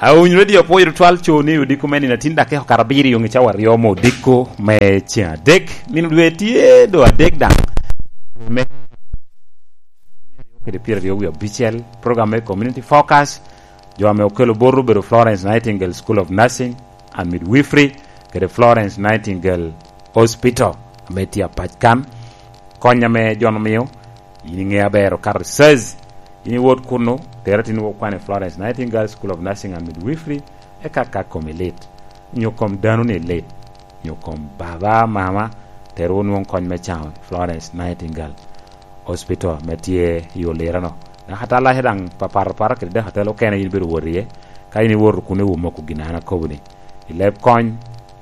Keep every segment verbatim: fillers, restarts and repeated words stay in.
Awinyo Radio Apwoyo Tutwal co ni odiko me nino atin dakika okato abiriyo nge cawa aryo me odiko me ceng adek. Nino dwe tye do adek daŋ. Me kede pyeraryo wie abicel, program me Community Focus. Jo ame okelo bot obedo Florence Nightingale School of Nursing and Midwifery, kede Florence Nightingale Hospital ame tye apac kan. Kony ame jo omio, in iŋe aber okato i Sez. In iwot kunnu, tera tin wok kwane Florence Nightingale School of Nursing and Midwifery, eka ka komi lit, nyo kom dano ni lit, nyo kom baba, mama, tero wonwoŋ kony me caŋo Florence Nightingale Hospital ame tye i Olirano. Daka atalaca daŋ papat opara kede daka atela okene in ibedo wot iye, ka in iwoto kun iwumo oko gin an akobo ni, i leb kony,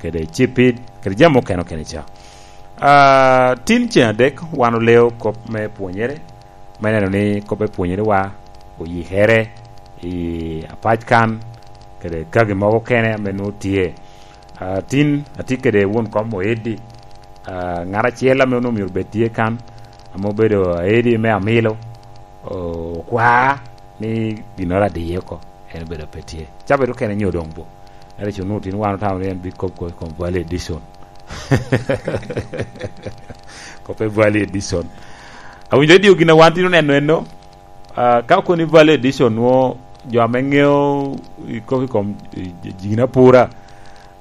kede cipid, kede jami okene okene ca. Ah, tin ceng adek wan oleo kop me pwonyere, me neno ni kop me pwonyere wa oyikere i apac kan, kede kagi mogo okene ame nwoŋo tye. Ah, tin atye kede won kom Oeddi, ah, ŋat acel ame onwoŋo myero bed tye kan, ame obedo Aedi me Amilo, o-, okwa ni ginnoro adiye oko, en obedo pe tye. Cabit okene nyo doŋ bo. Ento co onwoŋo tin wan otamo ni en bikop ko i kom Valley Edition. Kop e Valley Edition. Awinyo Radio gin a wan tin oneno enno, ah, ka okoni Valley Edition nwo jo ame ŋeo i kop i kom i, i, gin apura,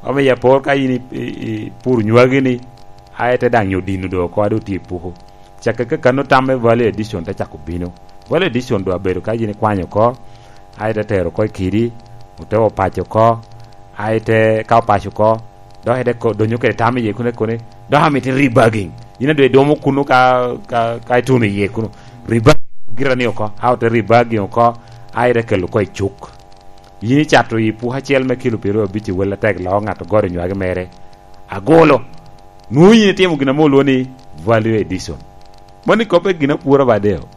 ame i apor ka in i, i, i pur nywagi ni, aye te daŋ nyo dino do oko, a do tye i puko. Cakke ka kano tam me Valley Edition te cako bino. Valley Edition do abedo ka yin ikwanyo oko, aye te tero oko i kidi, ote opaco oko, aye te ka opaco oko, dok ite ko-, donyo kede tam iye kuno, kone, dok amito rebagging. Yin adwe idomo kuno ka, ka, ka ituno iye kuno. Rebagging gira ni oko, a ote rebagging oko, aye ite kelo oko i cuk. Yin icato i puko acel me kilo pyeraryo abic i wel atek loo ŋat ogoro nywagi mere. Agolo. Nwoŋo yin itimo gin ame olwoŋo ni Valley Edition. Mano ikoppe gin apura ba deo.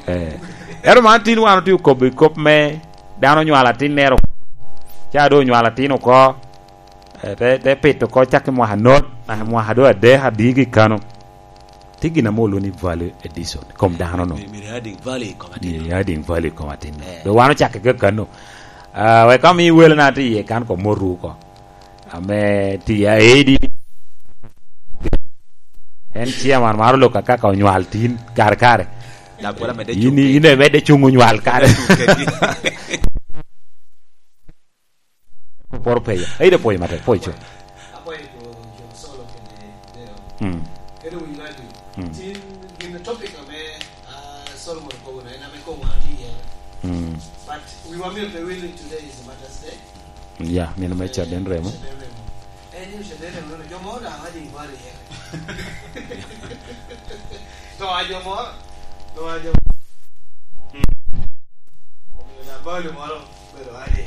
Eh. Ero man tin wan otye okobo i kop me dano onywalo atinnere oko. Ca doŋ onywalo atin oko, eh, te, te pito oko cak i mwaka not, naka mwaka doŋ adek adiki kano. Tye gin ame olwoŋo ni Valley Edition, kom dano no. Mi-, myero adding Valley i kom atin. Myero adding Valley i kom atin. Eh. Doŋ wan ocakke kakano. Ah, wek ka omi wele na tye iye kan kom moru oko. Ame tye Aedi. En chairman maro lok akaka onywal tin kare kare. Dok pwod amedde in, cuŋ in piny. Emedde cuŋ onywal kare. Cuŋ kedgi. Poro peya. Ayi de pwoyo matek, pwoyo co. Apwoyo co, co Solo kede Deo. Mm. Kede wi radio. Mm. Tin gin topic ame, ah, Solomon okobo no, en ame koŋ wan tye iye. Mm. But we were merely willing today is Mother's Day. Ya, nino me caden remo. Caden remo. Eh, nino caden remo, jo moro daŋ aje ibalo iye. To a jo moro, to a jo. Omio daŋ balo moro obedo aje.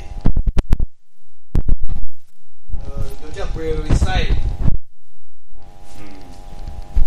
Eh, jo tye akwero i side